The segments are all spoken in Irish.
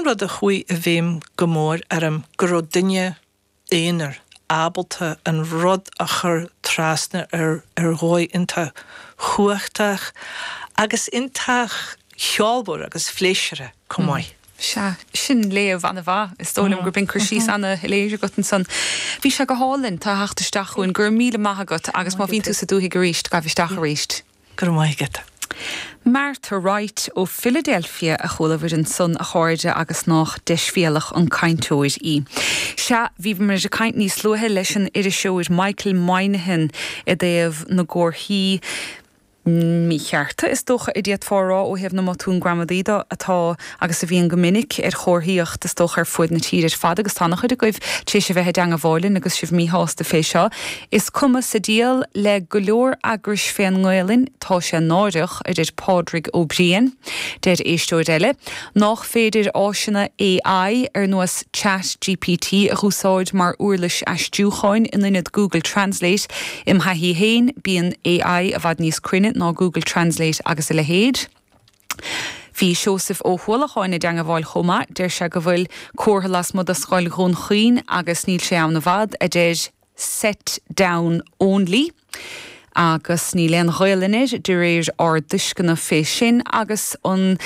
rud a chuaigh i bhfeidhm go mór orm, go raibh duine aonair ábalta an rud a chur trasna ar ar dhóigh iontach chumhachtach agus iontach cheolmhar agus phléisiúrtha chomh maith. Sea, sin léamh an-mhaith. Is dóigh liom gurb in cur síos an-shoiléir agat ansan. Bhí sé go hálainn, tá a theacht isteach chugainn. Go raibh míle maith agat agus má bhíonn tú sa dúthaigh arís, gabh isteach arís. Go raibh maith agat. Martha Wright ó Philadelphia a chuala bhur ansan, a chairde, agus nách deisbhéalach an cainteoir í. Sea, bhí muid ag caint níos luaithe leis an iriseoir Michael Moynihan i dtaobh na gcomharthaí míchearta, is dócha a d'fhéadfá a rá, ó thaobh na mbotún gramadaí de, atá agus a bhíonn go minic ar chomharthaíocht, is dócha, ar fuaid na tíre ar fad, agus tá an-chuid agaibh tar éis a bheith i dteangabháil linn agus sibh míshásta fé seo. Is cuma sa diabhal le go leor eagrais fén nGaelainn, tá sé náireach, a deir Pádraig Ó Briain. Deir éisteoir eile, nách féidir áiseanna AI ar nós Chat GPT a dh'úsáid mar uirlis aistriúcháin in ionad Google Translate. Im thaithí fhéin, bíonn AI i bhfad níos cruinne ná Google Translate agus a leithéid. Bhí Seosamh Ó hUallacháin i dteangabháil chomh maith. Deir sé go bhfuil comhartha lasmuigh de Scoil Dhún Chaoin agus níl sé ann i bhfad, a deir Set down only agus níl aon Ghaelainn air de réir ár dtuisceana fé sin agus an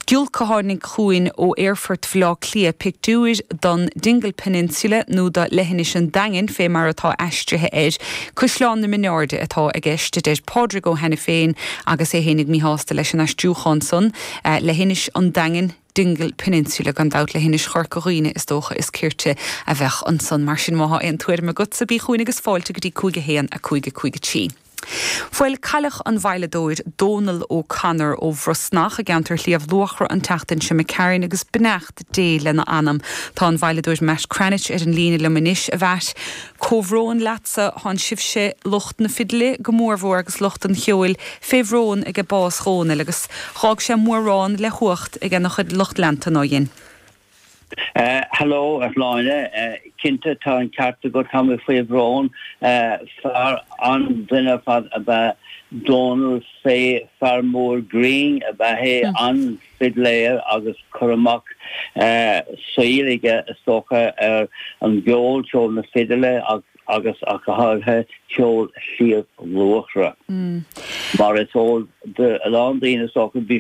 giolc a tháinig chugainn ó aerfort Bhaile Átha Cliath, pictiúir don Dingle Peninsula nó do Leithinis an Daingin fé mar atá aistrithe air. Caisleán na Mionairde atá i gceist, a deir Pádraig Ó hAiniféin agus é fhéinig míshásta leis an aistriúchán san, Leithinis an Daingin. Dingle Peninsula, gan dabht, Leithinis Chorca Dhuibhne is dócha is cirte a bheadh ansan. Mar sin, má thá aon tuairim agatsa, bí chugainn agus fáilte go dtí 5 1 5 5 3. Bhuel, cailleadh an veidhleadóir Dónal O'Connor ó Bhrosnach i gceantar Shliabh Luachra an tseachtain seo imigh tharainn agus beannacht Dé lena anam. Tá an veidhleadóir Matt Cranitch ar an líne liom anois. A Mhatt, comhbhrón leatsa, thánn sibhse, lucht na fidile go mórmhór agus lucht an cheoil, fé bhrón aige bás Dhónaill agus dh'fhág sé mórán le huacht aige na chuid lucht leanta, ná dhein? Hello, a Shláine. Cinnte, tá an ceart agat, tá mé faoi bhrón. Fear an-duine ar fad ab ea Dónal, fé fear mór grinn ab ea é, an-fhidléir agus cur amach saoil aige is dócha ar an gceol, ceol na fidile agus ach go háirithe ceol Shliabh Luachra. Mar is eol do a lán daoine is dócha, bhí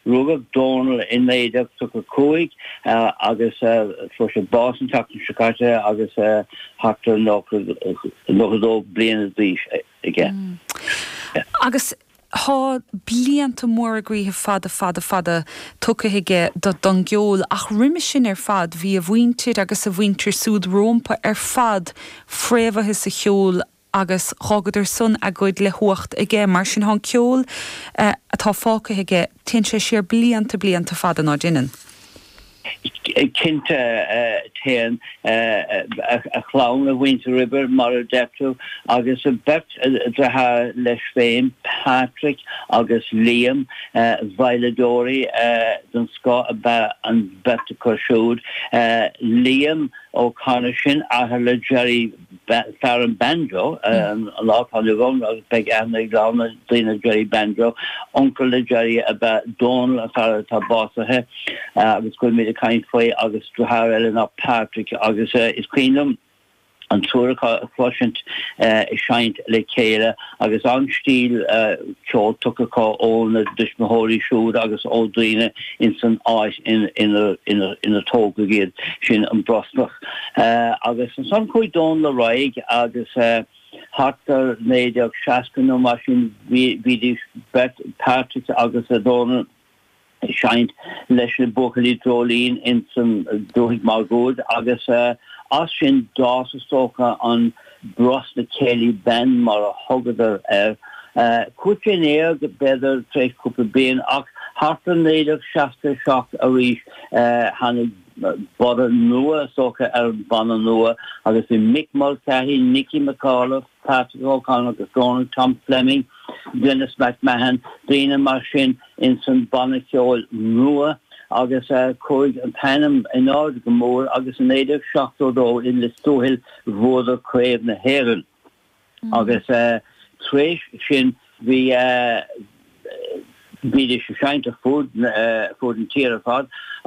rugadh Dónal i 1935 agus fuair sé bás an tseachtain seo caite agus thart ar 92 bliana d'aois aige. Agus Thá blianta móra groíthe fada fada fada tugtha aige don gceol ach roimhe sin ar fad bhí a mhuintir agus a mhuintir súd rómpa ar fad fréamhaithe sa cheol agus dh'fhágadar san a gcuid le huacht aige. Mar sin thá an ceol atá fágtha aige, téann sé siar blianta blianta fada ná deineann. Cinnte, téann a chlann, a mhuintir roimhe, mar a deir tú, agus beirt deartháir leis féin, Patrick agus Liam, veidhleadóirí den scoth ab ea an bheirt acu siúd. Liam O'Connor, sin athair le Jerry fear an banjo, an lá atá inniu ann agus beidh aithne ag a lán daoine ar Jerry Banjo. Uncail le Jerry ab ea Dónal, an fear atá básaithe agus go bhfuilimid ag caint faoi, agus deartháir eile ná Patrick agus is cuimhin liom an triúr acu a chloisint ag seinnt le chéile agus an-stíl ceoil tugtha acu óna dtuismitheoirí siúd agus ó daoine ins an áit ina tógadh iad, sin an Brosnach. Agus ansan chuaigh Dónal ar aghaidh agus thart ar 1960 nó mar sin bhídís beirt, Patrick agus Dónal, ag seinnt leis na Buachaillí Dreoilín ins an dúthaigh máguaird agus as sin d'fhás is dócha an Brosna Céilí Band mar a thugadar air. Chuaigh sé in éag b'fhéidir tar éis cúpla bliain ach thart ar 1967 arís tháinig borradh nua, is dócha, ar an bhanna nua agus bhí Mick Mulcahy, Nicky McAuliffe, Patrick O'Connor agus Dónal Tom Fleming, Denis McMahon, daoine mar sin ins an banna ceoil nua agus chuaigh an t-ainm in airde go mór agus i 1972 i Lios Tuathail bhuadar Craobh na hÉireann agus tar éis sin bhí bhídís ag seinnt ar fud fud an tír ar fad.